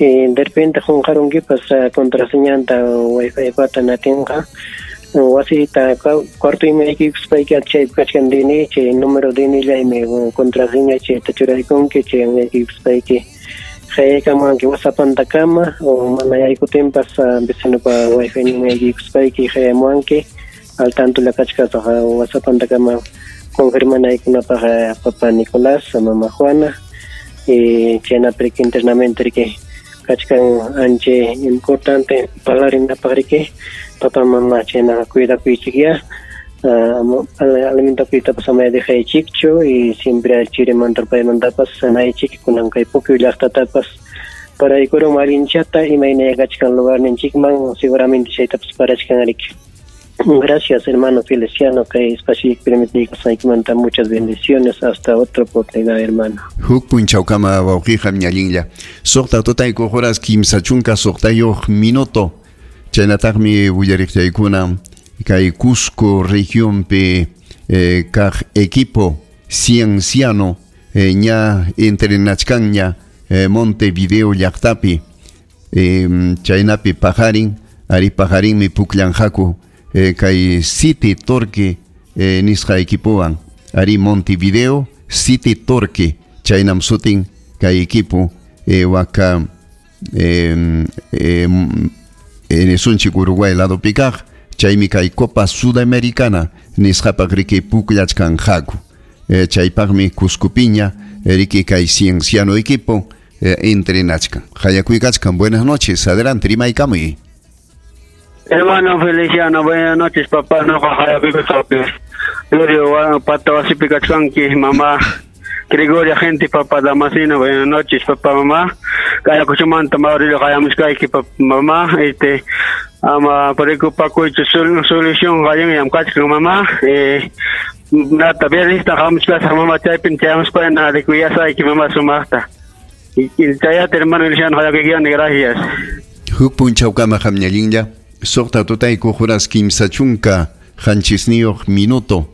De repente qunqarunkipas contraseñanta wifi pata natinqa wasita cuartoyman yaykuykuspayki chaypi kachkan DNI, chay número DNI-llaymi contraseña chayta churaykunki, chaywan yaykuykuspayki qayaykamuwanki WhatsAppantakama o mana yaykutinpas vecinopa wifi ninman yaykuykuspayki qayamuwanki al tantolla kachkasaq WhatsAppantakama confirmanaykunapaq papa Nicolás, mama Juana y chaynapi riki internamente riki kachkan ancha importante parlarinapaq riki papa mama chaynaqa cuidakuychikyá alimentakuytapas amaya dejaychikchu y siempre chirimanta rupaymantapas sanaychik kunan kay Puquio llaqtatapas paraykurun allinchata imayna kachkan lugarninchikman seguramente chaytapas parachkan riki. Gracias, hermano Feliciano, kay espacio permitirkusqaykimanta muchas bendiciones. Hasta otra oportunidad, hermano. Huk punchawkama wawqiqa ñallinlla. Suqta tutayku horas 36 minuto. Chaynataqmi willariqchaykuna kay Cusco regionpi kaq equipo Cienciano ña entrenachkanña Montevideo llaqtapi chaynapi paqarin ari paqarinmi pukllanqaku kay City Torque nisqa equipowan ari Montevideo City Torque chaynam sutin kay equipo waka sunchik Uruguay ladopi kaq chaymi kay Copa Sudamericana nisqapaq riki pukllachkanqaku chaypaqmi Cuscopiña riki kay Cienciano equipo entrenachkan. Hayakuykachkan. Buenas noches, adelante rimaykamuy. Hermano Feliciano, buenas noches, papá. No, Gloria, pata wasipi kachkanki, mamá Gregoria, gente, papá Damasino, buenas noches, papá, mamá. Kaya kuchumanta Mauricio, kaya papá, mamá. Ama preocupakuychu solución allinllam kachkan, mamá. Nata viernes hamuchkasaq, mamá, chaypin chayamuspayna rikuyasayki, mamá, sumaqta. Chayata, hermano Feliciano, hayakuykiani, gracias. Huk punchawkama qamñallinlla. Suqta tutayku horas 37 minuto.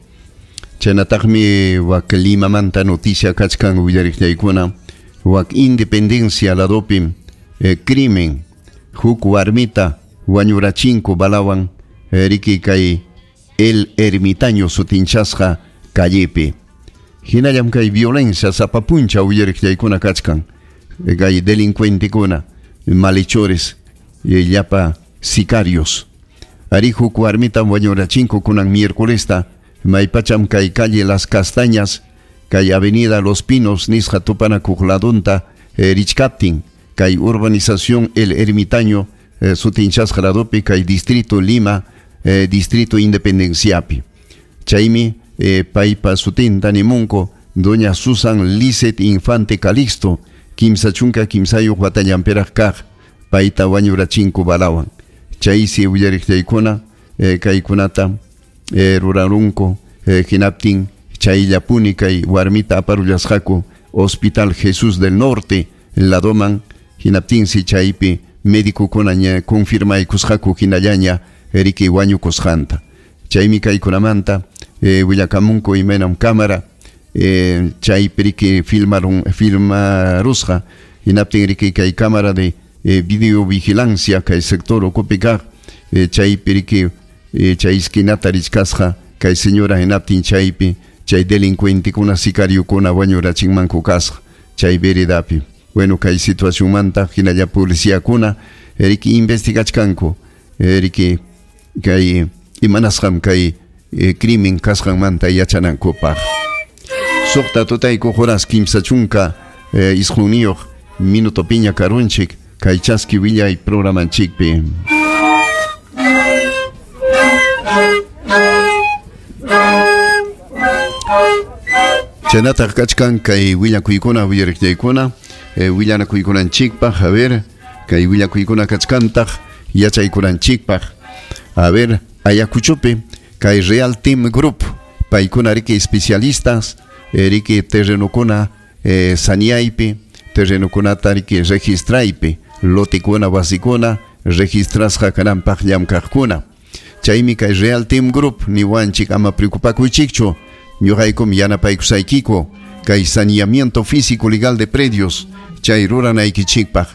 Chaynataqmi wak Limamanta noticia kachkan willariqllaykuna wak Independencia ladopi crimen huk warmita wañurachinku balawan riki kay El Ermitaño sutinchasqa callepi. Hinallam kay violencia sapa puncha willariqllaykuna kachkan kay delincuentekuna malhechores llapa sicarios. Ari huk warmitam wañurachinku kunan miércolesta maypacham kay calle Las Castañas kay avenida Los Pinos nisqa tupanakuq ladunta richkaptin kay urbanización El Ermitaño sutinchasqa ladopi kay distrito Lima distrito Independenciapi. Chaymi paypa sutinta nimunku doña Susan Lizeth Infante Calixto 33 watallanpiraq kaq payta wañurachinku balawan. Chaysi willariqllaykuna kaykunata rurarunku hinaptin chayllapuni kay warmita aparullasqaku Hospital Jesús del Norte ladoman hinaptinsi chaypi médicokuna ña confirmaykusqaku hinallaña riki wañukusqanta. Chaymi kaykunamanta willakamunku imaynam cámara chaypi riki filmarusqa hinaptin riki kay cámara de videovigilancia kay sector ukupi kaq chaypi riki chay esquinata richkasqa kay señora hinaptin chaypi chay delincuentekuna sicariokuna wañurachinmanku kasqa chay veredapi. Bueno, kay situacionmanta hinalla policíakuna riki investigachkanku riki kay imanasqam kay crimen kasqanmanta yachanankupaq. Suqta tutayku horas 39 minuto piña karunchik kay chaski willay programanchikpi. Chaynataq kachkan kay willakuykuna willariqllaykuna willanakuykunanchikpaq, a ver, kay willakuykuna kachkantaq yachaykunanchikpaq. A ver, Ayacuchopi kay Real Team Group paykuna riki especialistas riki terrenokuna saniaypi terrenokunata riki registraypi lotikuna wasikuna registrasqa kananpaq llamkaqkuna. Chaymi kay Real Team Group niwanchik ama preocupakuychikchu ñuqaykum yanapaykusaykiku kay saneamiento físico legal de predios chay ruranaykichikpaq.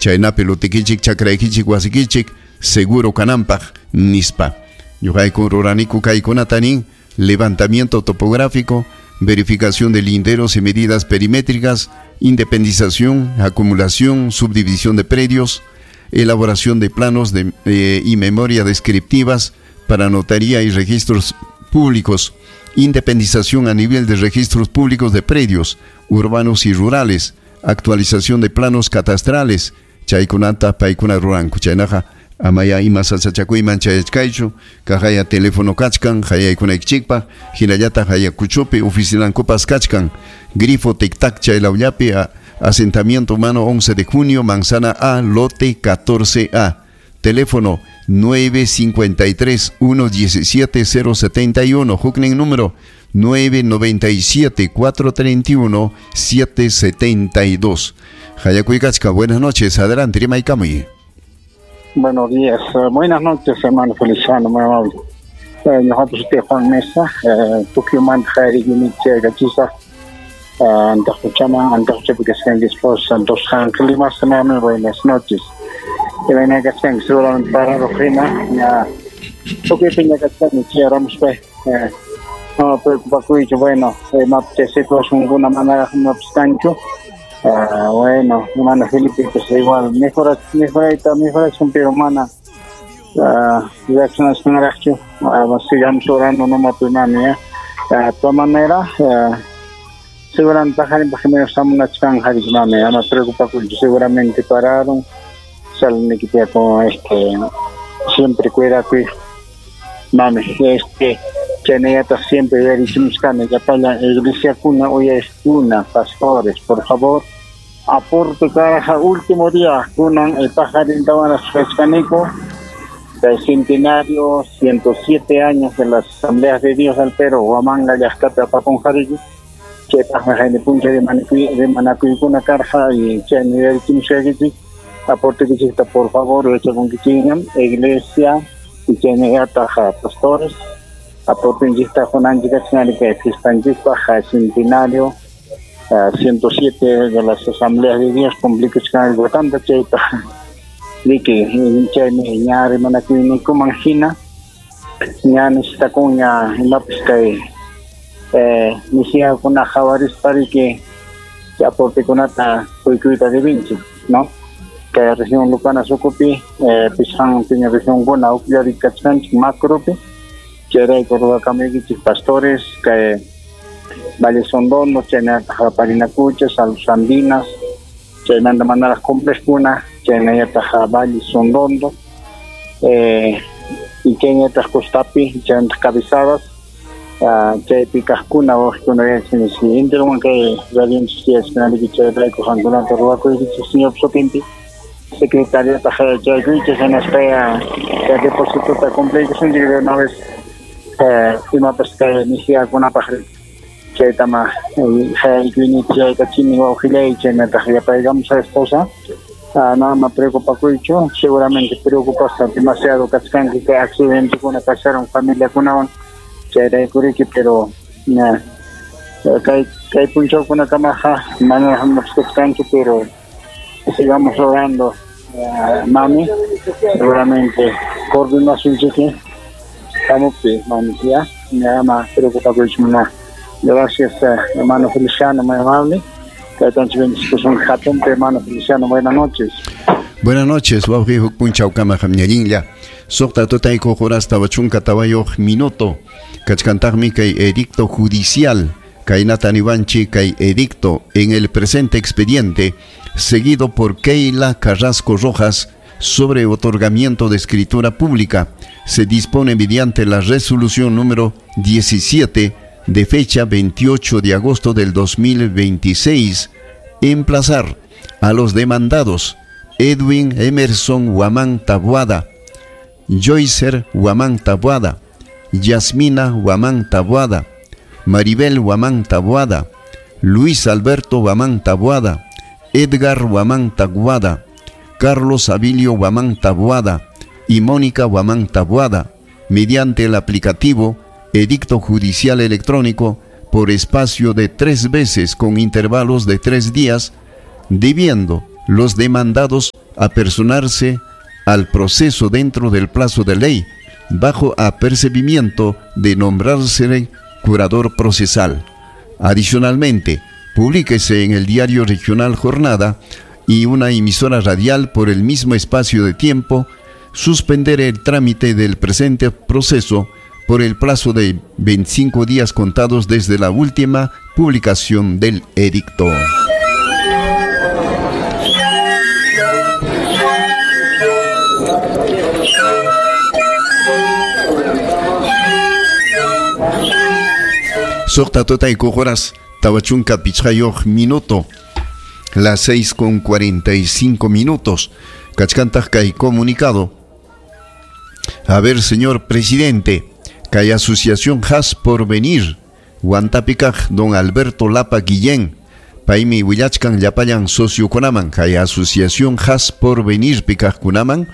Chaynapi lotikichik, chakraykichik, wasikichik, seguro kananpaq nispa. Ñuqayku ruraniku kaykunata nin levantamiento topográfico, verificación de linderos y medidas perimétricas, independización, acumulación, subdivisión de predios, elaboración de planos y memoria descriptivas para notaría y registros públicos, independización a nivel de registros públicos de predios urbanos y rurales, actualización de planos catastrales, chaykunata paykuna ruranku. Chaynaqa amaya ima sasachakuyman chayachkaychu, kaqaya teléfono kachkan, hayaykunaykichikpaq, hinallataq Ayacuchopi oficinankupas kachkan, grifo tic-tac chaylawllapi, asentamiento humano 11 de junio, manzana A, lote 14A, teléfono 953 117 071, huknin número 997 431 772. Hayakuykachka, buenas noches, adelante, rimaykamuy. Buenos días, buenas noches, hermano Feliciano, muy amable. Nosotros Juan Mesa, Tucumán, Jairi, Yuniche, Gachiza, Antajuchama, Antajuchapicación, esposa, Dos Ángeles, más hermano, buenas noches. Que venga que seguramente para Rojina, ya, Tucumán, Gachiza, Ramos, no preocupa, bueno, no te situación alguna manera, no obstante. Bueno, hermano Felipe, pues igual, mejora, pero hermana, sigamos orando, no más hermano, de todas maneras, seguramente no preocupa, seguramente pararon, salen con siempre cuida, mami, siempre iglesia cuna, hoy es una, pastores, por favor, aporte caraja, último día, kunan el pajarín del centenario, 107 años de las Asambleas de Dios al Perú, Huamanga, Yascata, Paponjarigi, che paja de puncha de Manacuicuna carja y che nivel Kimshagiti, aporte que por favor, echa con Kichiñam, iglesia, y che taja pastores, aporte injista Jonanjica, que fiesta centenario, 107 de las Asambleas de Dios, complica algo tanto, che Diki, chaymi ña rimanakuyninkuman hina ña necesitakuña imapas kay misiakuna qhawarispariki aportekunata quykuyta debinchik, ¿no? Kay región Lucana Sucupi, pisqan piña regionkuna uqllarikachkanchik macropi, chayrayku ruwakamuykichik pastores, kay Valle Sondondo, chaynataq Parinacucha, Salus Andinas, chaymanta manaraq complejkuna, chaynallataq Valle Sondondo, y chaynallataq Costapi, chaynallataq Cabezadas, chaypi kaqkuna waqkuna yachanchik intiruwan kay radionchik yachkanaliki chayrayku qankunata ruwakuykichik señor sutinpi secretariataq chaykuychik hinaspa chay depositota cumpliykusunchik de una vez imapas kay misiakunapaq chaytama haykuynichik chaykachini wawqillay chaynataq yapaykamus a esposa. No me preocupa mucho, seguramente preocupa demasiado kachkanki que accidente kuna pasaron familia kunawan chayraykuriki, pero kay punchawkuna kamaqa manaraq kachkanki, pero sigamos orando, mami, seguramente coordinación hamupti mami, ya me preocupa mucho. Gracias, hermano Feliciano, muy amable. Hermano Feliciano, buenas noches. Buenas noches, wawqi huk punchawkama hamñallinlla. Suqta tutayku horas tawachunka tawayuq minuto. Kachkantaqmi kay edicto judicial. Kaynata niwanchik kay edicto en el presente expediente, seguido por Keila Carrasco Rojas, sobre otorgamiento de escritura pública. Se dispone mediante la resolución número 17 de fecha 28 de agosto del 2026, emplazar a los demandados Edwin Emerson Huamán Tabuada, Joycer Huamán Tabuada, Yasmina Huamán Tabuada, Maribel Huamán Tabuada, Luis Alberto Huamán Tabuada, Edgar Huamán Tabuada, Carlos Abilio Huamán Tabuada y Mónica Huamán Tabuada, mediante el aplicativo Edicto Judicial Electrónico por espacio de 3 veces con intervalos de 3 días, debiendo Los demandados a personarse al proceso dentro del plazo de ley, bajo apercibimiento de nombrarse curador procesal. Adicionalmente, publíquese en el diario regional Jornada y una emisora radial por el mismo espacio de tiempo, suspender el trámite del presente proceso por el plazo de 25 días contados desde la última publicación del edicto. Suqta tutaykuq horas tawachunka pichqayuq minuto, las 6:45. Kachkantaq kay comunicado. A ver, señor presidente, kay asociación Has por venir, Huantapikaj don Alberto Lapa Guillén, paymi willachkan llapallan sociokunaman, kay asociación Has por venir pikajkunaman,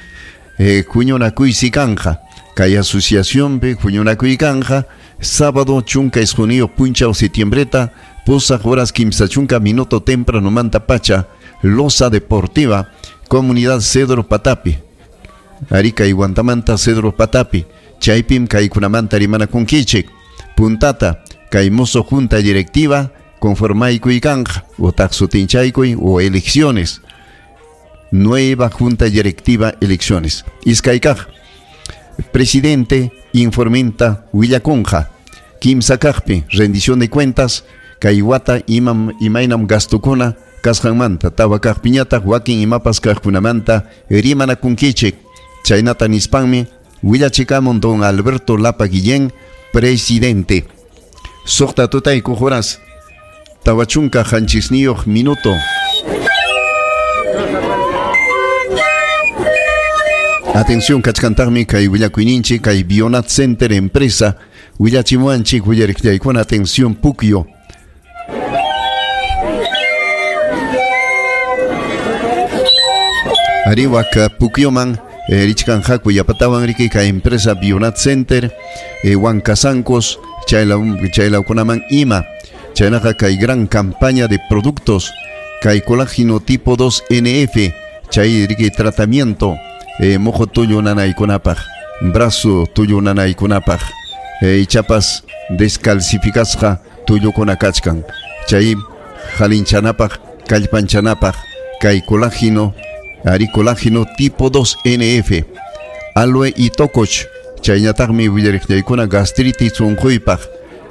huñunakuysi kanja, kay asociación pe huñunakuy kanja, sábado chunka isquniyuq punchaw septiembreta, pusaq horas kimsa chunka minuto temprano manta pacha, Loza Deportiva, Comunidad Cedro Patapi, Arica y Huantamanta Cedro Patapi, chaypim kaykunamanta rimanakunkichik, puntata, kay mozo junta directiva, conformaykuy kanja, utaq sutinchaykuy o elecciones, nueva junta directiva elecciones. Iskaykaj, presidente informenta willakunja, kimsa kaqpi, rendición de cuentas, kay wata imam imaynam gastukuna kasqanmanta, tawa kaqpiñataq wakin imapas kaqkunamanta rimanakunkichik. Chaynata nispanmi willachikamun don Alberto Lapa Guillén, presidente. Suqta tutaykuq horas tawachunka qanchisniyuq minuto. Atención, kachkantaqmi kay willakuyninchik kay Bionat Center empresa willachimuanchik willariqllaykuna. Atención, Pukyo. Ariwak Pukyoman richkanqaku yapatawan riki kay empresa Bionat Center, Huancasancos, chaylawkunaman ima. Chaynaqa kay gran campaña de productos kay colágeno tipo 2 NF, chay riki tratamiento, mojo tullu nanaykunapaq, brazo tullu nanaykunapaq, ichapas descalcificasqa tullukuna kachkan, chay halinchanapaq, kallpanchanapaq kay colágeno, ari colágeno tipo 2 NF, aloe y tokoch, chayñataqmi willariqllaykuna gastritis unquypaq,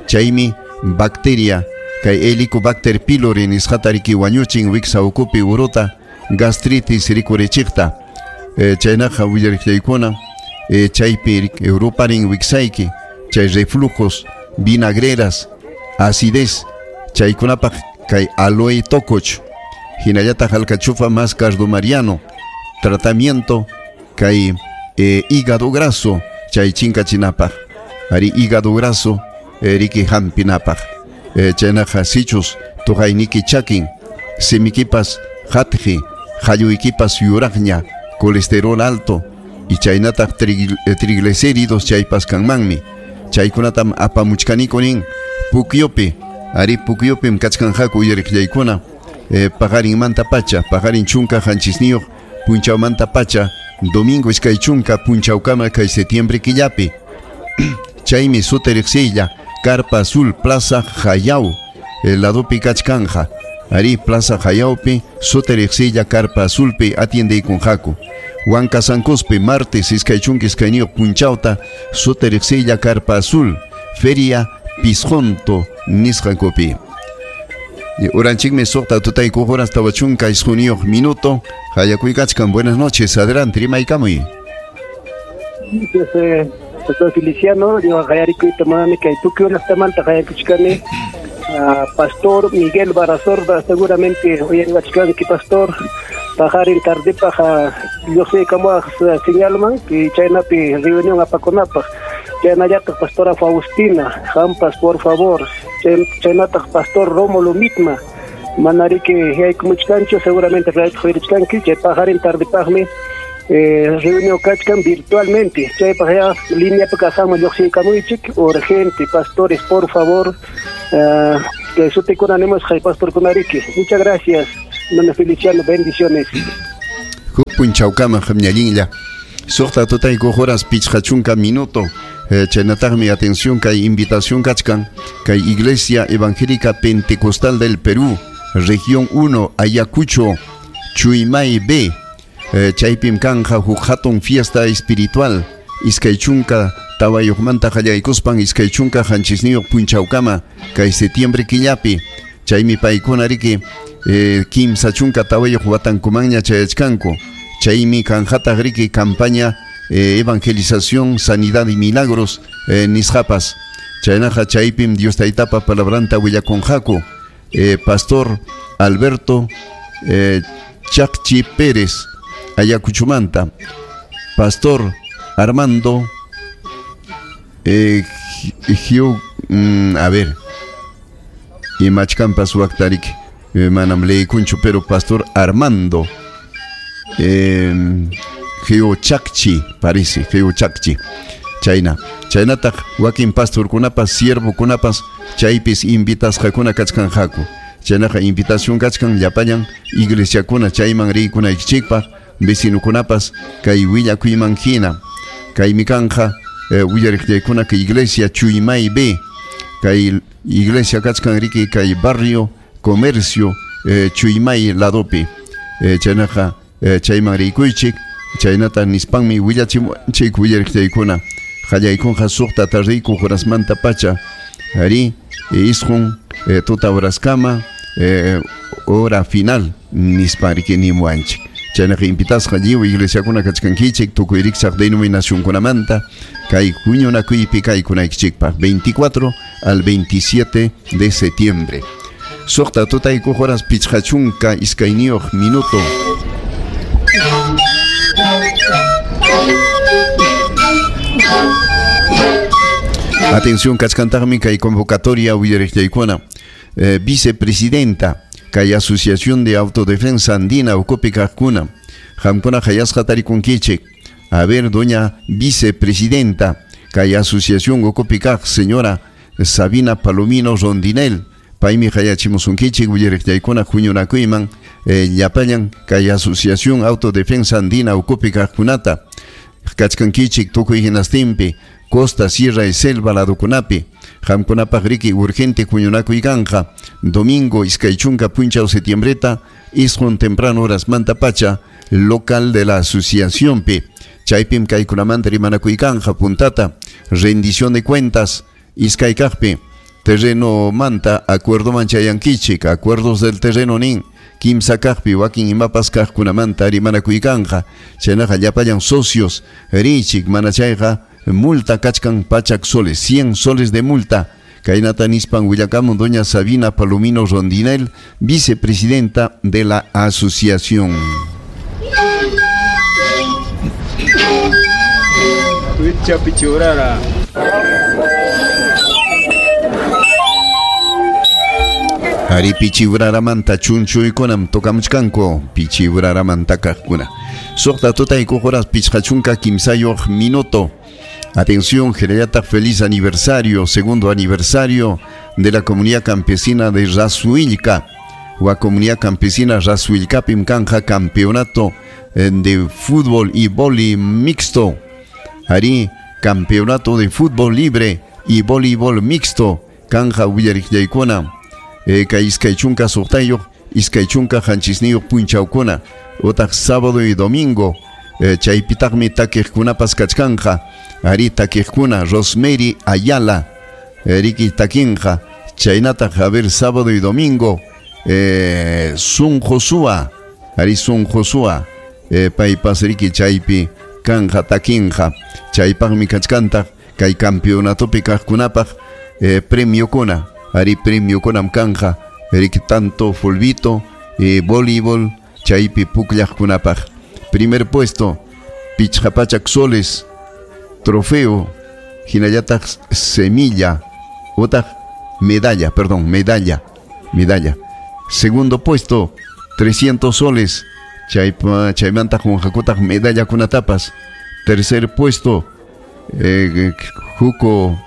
chaymi bacteria kay Helicobacter pylori nisqata riki wañuchin wiksa ukupi uruta gastritis rikurichiqta. Chaynaqa willariqllaykuna, chaypi Europarin wiksayki, chay reflujos, vinagreras, acidez, chaykunapaq kay aloe tokoch, hinallataq alcachofa más cardomariano, tratamiento kay hígado graso, chay chinkachinapaq, ari hígado graso riki hampinapaq. Chaynaqa sichus tuqayniki chakin, simikipas hatji, halluykipas yuraqña, colesterol alto y chaynataq triglicéridos chaypas kanmanmi. Chaykunatam apamuchkaniku nin Pukyopi, ari Pukyopim kachkanqaku uyariqllaykuna, paqarinmanta pacha, paqarin chunka qanchisniyuq punchawmanta pacha, domingo iskay chunka punchawkama kay septiembre killapi. Chaymi suti riqsiylla Carpa Azul, Plaza Jayau, el ladopi kachkanja. Ari Plaza Jayaupi, suti riqsiylla Carpa Azulpi atiendeykunqaku. Huancasancospi, martes iskay chunka iskayniyuq punchawta, suti riqsiylla Carpa Azul, Feria Pisjonto nisqankupi. Uranchikmi suqta tutaykuq horas tawachunka isquniyuq minuto. Hayakuykachkan, buenas noches, adelante, rimaykamuy. Pastor Feliciano, yo hayarikuyta manami kay Pukyo llaqtamanta hayakuchkani. Pastor Miguel Barazorda, seguramente uyariwachkanki pastor, paqarin tardepaq lluqsiykamuwaq señalman y chaynapi reunión apakunapaq. Chaynallataq pastora Faustina, hampas por favor, chaynataq pastor Rómulo Mitma, manariki haykumuchkanchu, seguramente uyarichkanki, chay paqarin tardepaqmi reunión kachkan virtualmente. Chaypaq ya línea kasama lluqsiykamuychik, urgente, pastores, por favor, que sutikuna nimusqay pastorkunariki. Muchas gracias. Hermano Feliciano, bendiciones. Huk punchawkama qamñallinlla. Suqta tutayku horas pichqa chunka minuto. Chaynataqmi atención kay invitación kachkan kay Iglesia Evangélica Pentecostal del Perú, Región 1, Ayacucho, Chuimay B. Chaypim kanja huk hatun fiesta espiritual. Iskay chunka tawayuqmanta qallaykuspan iskay chunka qanchisniyuq punchawkama kay septiembre killapi. Chaymi paykuna riki kimsa chunka tawayuq watankumanña chayachkanku. Chaymi kanjataq riki campaña evangelización, sanidad y milagros nisqapas. Chaynaqa chaypim Dios taytapa palabranta willakunqaku. Pastor Alberto Chacchi Pérez, Ayacuchumanta. Pastor Armando a ver, imachkampas waktarik manam leykunchu, pero Pastor Armando Geochacchi, parece, Geochacchi. Chayna, chaynataq wakin pastorkunapas, siervokunapas chaypis invitasqakuna kachkanqaku. Chaynaqa invitación kachkan llapallan iglesiakuna chayman riykunaykichikpaq, vecinokunapas kay willakuyman hina. Kaymi kanja willariqllaykuna kay iglesia Chuimay B, kay iglesia kachkan riki kay barrio comercio Chuimay ladopi. Chaynaqa chayman riykuychik. Chaynata nispanmi willachimuanchik willariqllaykuna. Qallaykunqa suqta tardiyku horasmanta pacha ari isqun tuta horaskama hora final nispan riki nimuanchik. Chaynaqa invitasqa lliw iglesiakuna kachkankichik tukuy rikchaq denominacionkunamanta kay huñunakuypi kaykunaykichikpaq 24 al 27 de septiembre. Suqta tutayku horas pichqa chunka iskayniyuq minuto. Atención, kachkantaqmi kay convocatoria willariqllaykuna. Vicepresidenta kay Asociación de Autodefensa Andina ukupi kaqkuna. Qamkuna hayasqa tarikunkichik. A ver, doña vicepresidenta kay Asociación ukupi kaq señora Sabina Palomino Rondinel. Paymi hayachimusunkichik willariqllaykuna huñunakuyman llapallan kay Asociación Autodefensa Andina ukupi kaqkunata. Kachkankichik tukuy hinastinpi costa, sierra y selva ladukunapi. Qamkunapaq riki urgente huñunakuy kanja. Domingo iskay chunka punchaw septiembreta isqun temprano horas manta pacha local de la asociación pi. Chaypim kaykunamanta rimanakuy kanja puntata rendición de cuentas iskay kaqpi terreno manta acuerdo manchayankichik acuerdos del terreno nin kimsa kaqpi wakin imapas kaqkunamanta rimanakuy kanja. Chaynaqa llapallan socios richik mana chayqa multa kachkan pachak soles, 100 soles de multa. Kaynata nispan willakamun doña Sabina Palomino Rondinel, vicepresidenta de la asociación. Ari pichiuraramanta chunchuykunam tokamuchkanku pichiuraramanta kaqkuna. Suqta tutayku horas pichqa chunka kimsayuq minuto. Atención, Jereyata, feliz aniversario, segundo aniversario de la comunidad campesina de Rasuilca. La comunidad campesina Rasuilca Pimcanja, campeonato de fútbol y vóley mixto. Ari, campeonato de fútbol libre y voleibol mixto. Kanja willariqllaykuna. Kay iskay chunka suqtayuq, iskay chunka qanchisniyuq punchawkuna. Utaq sábado y domingo. Chaypitaqmi takiqkunapas kachkanja. Ari takiqkuna Rosemary Ayala, riki takinja. Chaynataq a ver sábado y domingo Sun Josua, ari Sun Josua, paypas riki chaypi kanja takinja. Chaypaqmi kachkantaq kay campeonatopi kaqkunapaq premiokuna, ari premiokunam kanja, riki tanto fulbito, voleibol, chaypi pukllaqkunapaq. Primer puesto, pichqa pachak soles, trofeo, hinallataq semilla, otaq medalla, perdón, medalla. Segundo puesto, 300 soles, chaymanta junjakutaq medalla kunatapas. Tercer puesto, juco,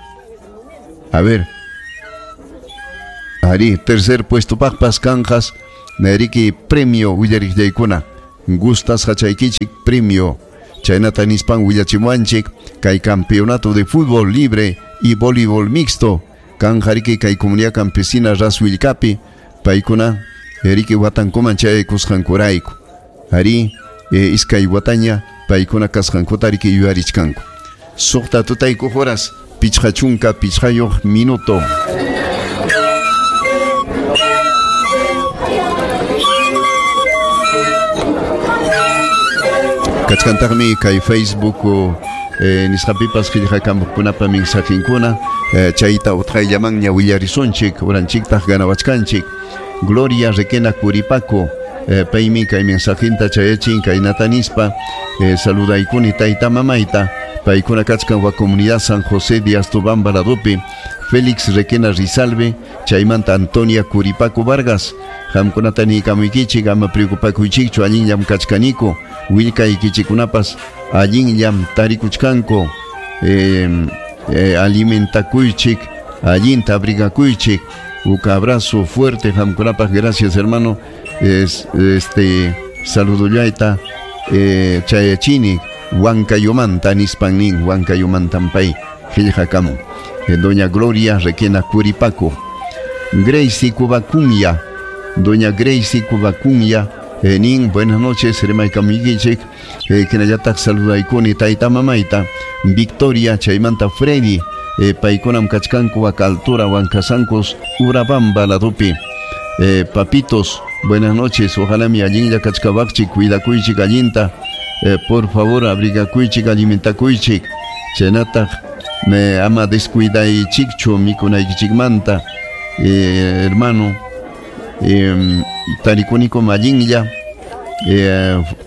a ver, ari, tercer puesto paqpas kanjas, Riki premio willariqllaykuna gustasqachaykichik premio chaynata nispan willachimuanchik kay campeonato de fútbol libre y voleibol mixto kanjariki kay comunidad campesina Raswillcapi paykuna riki watankuman chayaykusqankurayku ari iskay wataña paykuna kasqankuta riki yuyarichkanku. Suqta tutayku horas 55 minuto. Kachkantaqmi kay Facebook nisqapipas qillqakampuqkunapa mensajinkuna chayta utqayllamanña willarisunchik uranchiktaq ganawachkanchik. Gloria Requena Curipaco paymi kay mensajinta chayachin kaynata nispa saludaykuni tayta mamayta paykuna kachkan wa comunidad San José de Astobamba ladopi Félix Requena Rizalve chaymanta Antonia Curipaco Vargas qamkunata niykamuykichik ama preocupakuychikchu allinllam kachkaniku willkaykichikunapas allinllam tarikuchkanku alimentakuychik allinta abrigakuychik. Un abrazo fuerte qamkunapaq, gracias hermano. Saludullayta chayachini Huancayomanta nispan nin Huancayomantampay qillqakamun. Doña Gloria Requena Curipaco. Gracie Cubacunya, Doña Gracie Cubacunya nin buenas noches rimaykamuykichik hinallataq saludaykuni tayta mamayta Victoria chaymanta Freddy paykunam kachkanku waka altura Huancasancos Urabamba ladupi. Papitos, buenas noches, ojalá mi allinlla kachkawaqchik cuidakuychik allinta, por favor abrigakuychik alimentakuychik chaynataq me ama descuidaychikchu mikunaykichikmanta hermano tarikunikum allinlla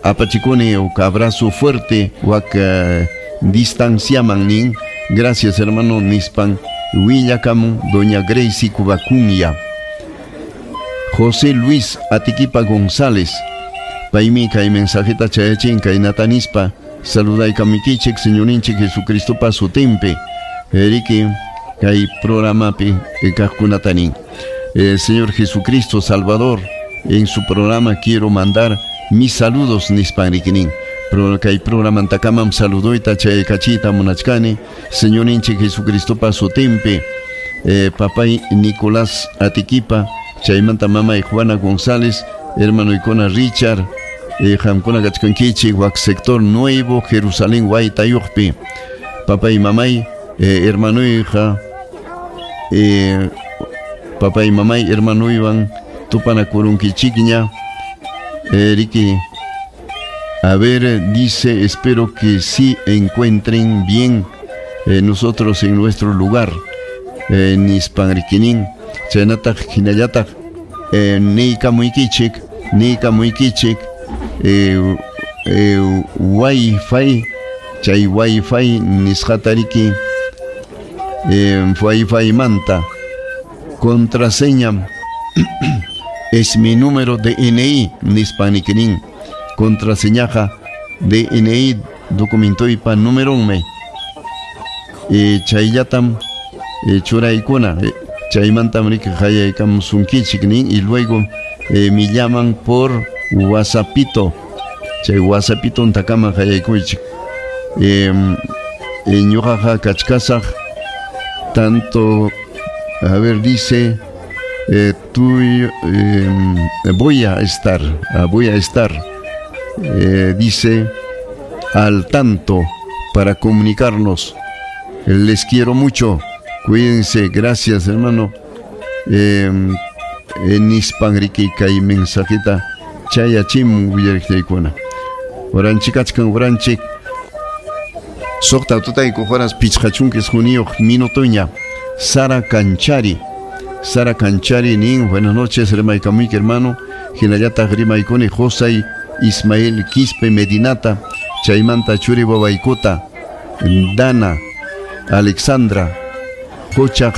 apachikuni uk abrazo fuerte wak distanciaman nin. Gracias hermano nispan willakamun Doña Gracie Cubacunya. José Luis Atiquipa González paymi kay mensajeta chayachin kaynata nispa saludaykamukichik Señorinchik Jesucristopa sutinpi riki kay programapi kaqkunata nin. Señor Jesucristo Salvador, en su programa quiero mandar mis saludos nispan rikinin. Kay programantakamam saludoyta chaykachita munachkani Señorinchik Jesucristopa sutinpi papay Nicolás Atiquipa chaymanta mamay Juana González hermanoykuna Richard qamkuna kachkankichik wak sector Nuevo Jerusalén Waytayuqpi papay mamay hermanoyqa papay mamay hermanoywan tupanakurunkichikña riki. A ver, dice, espero que sí encuentren bien nosotros en nuestro lugar. Nispan rikinin chaynataq hinallataq niykamuykichik wifi chay wifi nisqata riki wifi manta contraseña es mi número de DNI nispan rikinin contraseñaja DNI documentoypa numeronmi chayllatam churaykuna chaymantam riki qayaykamusunkichik nin y luego me llaman por WhatsAppito chay WhatsAppito ntakama qayaykuychik ñuqaqa kachkasaq tanto a ver dice voy a estar dice al tanto para comunicarnos. Les quiero mucho, cuídense, gracias hermano. Nispan riki kay mensajita chayachim willariqtaykuna waranchikachkan waranchik suqta tutayku horas 59 minutoña. Sara Canchari, Sara Canchari nin buenas noches rimaykamuyki hermano hinallataq rimaykuni Josay Ismael Quispe Medinata chaymanta churi wawaykota Dana Alexandra Qochaq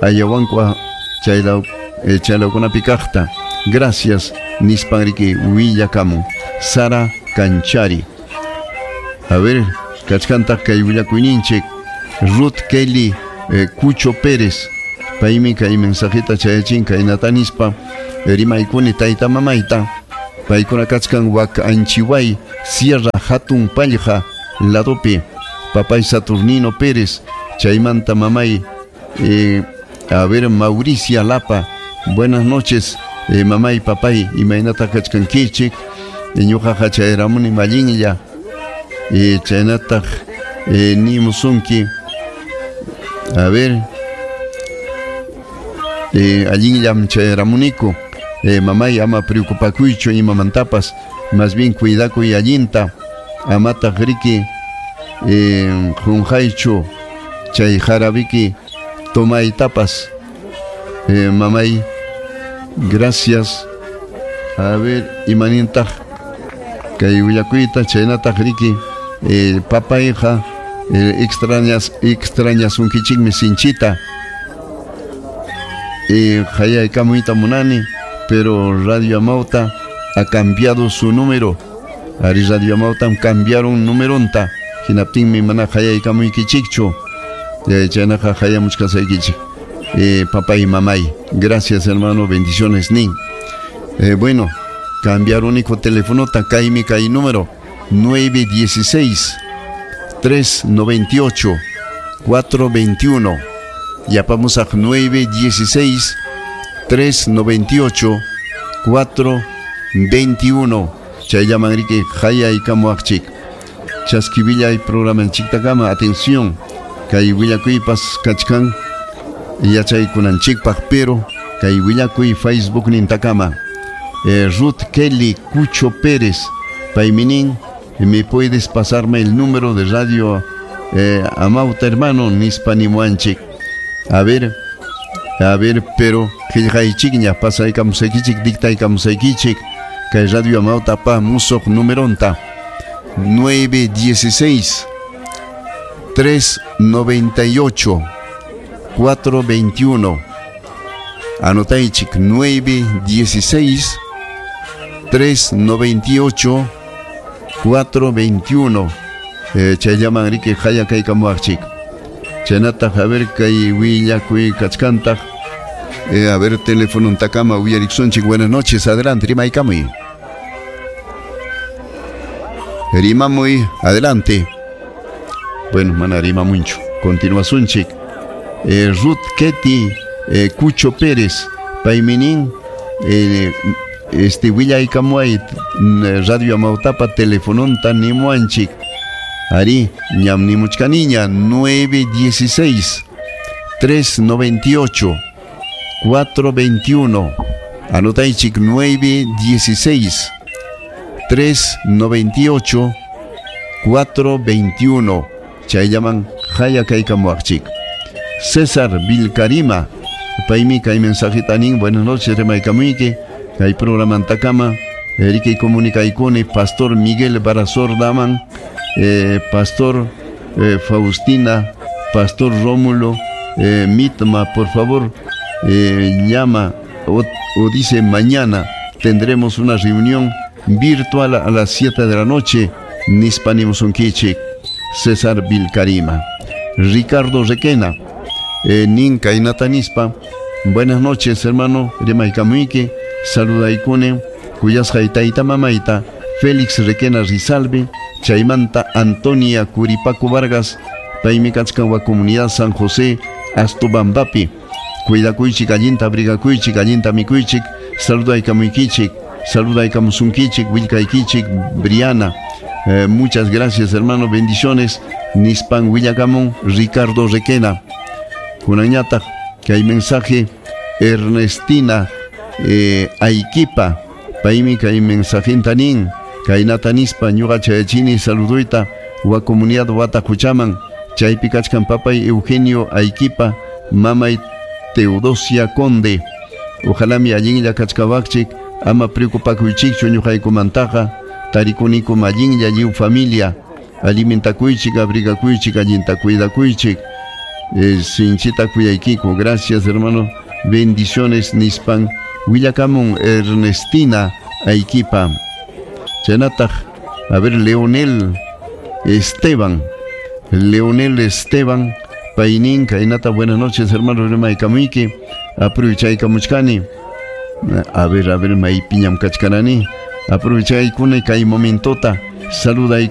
Ayahuanqua chaylawkunapi kaqta. Gracias nispan riki willakamun Sara Canchari. A ver, kachkantaq kay willakuyninchik Ruth Kelly Cucho Pérez paymi kay mensajita chayachin kaynata nispa Rimaykuni tayta mamayta. Paykuna kachkan wak Anchiway, Sierra Hatun Pallja ladopi. Papay Saturnino Pérez, chaymanta mamay, a ver, Mauricia Lapa. Buenas noches, mamay, papay, imaynata kachkankichik. Ñuqaqa chayramuni mallinlla. Chaynataq nimusunki. A ver, allinllam chayramuniku. Mamay, ama preocupakuychu imamantapas, más bien cuidakuy allinta, amataq riki qunqaychu chay jarabiki tomaytapas. Mamay, gracias. A ver, imanintaq kay willakuyta chaynataq riki papayqa extrañasunkichikmi sinchita. Hayaykamuyta munani, pero Radio Amauta ha cambiado su número. Ari Radio Amauta cambiaron numeronta. Hinaptinmi mana hayaykamuykichikchu. Chaynaqa hayamuchkasaykichik. Papá y mamay, gracias hermano, bendiciones nin. Bueno, cambiaron único teléfono, kaymi kay número 916 398 421. Ya vamos a 916 398 421. Chayllaman riki hayaykamuwaqchik. Chaskivillay programanchiktakama, atención, kay willakuypas kachkan yachaykunanchikpaq, pero kay willakuy Facebook nintakama. Ruth Kelly Cucho Pérez, payminin, me puedes pasarme el número de Radio Amauta, hermano, nispa nimuanchik. A ver, pero qillqaychikña pasaykamusaykichik, dictaykamusaykichik kay Radio Amauta pa musuq numeronta 916 398 421. Anotaychik 916 398 421. Chayllaman riki hayakaykamuwaqchik. Chaynataq, a ver, kay willakuy kachkantaq. A ver, teléfono ntakama uyariksunchik. Buenas noches, adelante, rimaykamuy. Rimamuy, adelante. Bueno, mana rimamunchu. Continuasunchik. Ruth Ketty Cucho Pérez, payminin, willaykamuay Radio Amautapa telefononta nimuanchik. Ari, ñam nimuchkaniña 916 398 421. Anotaychik 916 398 421. Chayllaman hayakaykamuwaqchik. César Vilcarima, paymi kay mensajita nin, buenas noches, rimaykamuyki, kay programantakama, riki comunicaykuni, Pastor Miguel Barazor Daman, Pastor Faustina, Pastor Rómulo, Mitma, por favor, llama o dice mañana tendremos una reunión virtual a las 7 de la noche, nispanimusunkichik. César Vilcarima. Ricardo Requena, nin kaynata nispa, buenas noches hermano, rimaykamuyki, saludaykuni, kuyasqay tayta mamayta, Félix Requena Rizalbe, chaymanta Antonia Curipaco Vargas, paymi kachkan wa comunidad San José, Astobambapi. Cuidakuychik, allinta abrigakuychik, allinta mikuychik, saludaykamuykichik, saludaykamusunkichik, willkaykichik, Briana. Muchas gracias hermano, bendiciones. Nispan willakamun Ricardo Requena. Kunanñataq kay mensaje Ernestina Aikipa, paymi kay mensajinta nin, kaynata nispa ñuqa chayachini saluduyta wa comunidad Wataquchaman, chaypi kachkan papay Eugenio Aikipa, mamay Teodosia Conde. Ojalá mi allinlla kachkawaqchik, ama preocupakuychikchu ñuqaykumantaqa, tarikuniku allinlla lliw familia, alimentakuychik, abrigakuychik, allinta cuidakuychik, sinchita kuyaykiku. Gracias hermano, bendiciones nispan willakamun Ernestina Aikipa. Chaynataq, a ver, Leonel Esteban, Leonel Esteban paynin kaynata, buenas noches hermano, rimaykamuyki, aprovechaykamuchkani. A ver, maypiñam kachkarani. Aprovechaykuna kay momentota. Saluday.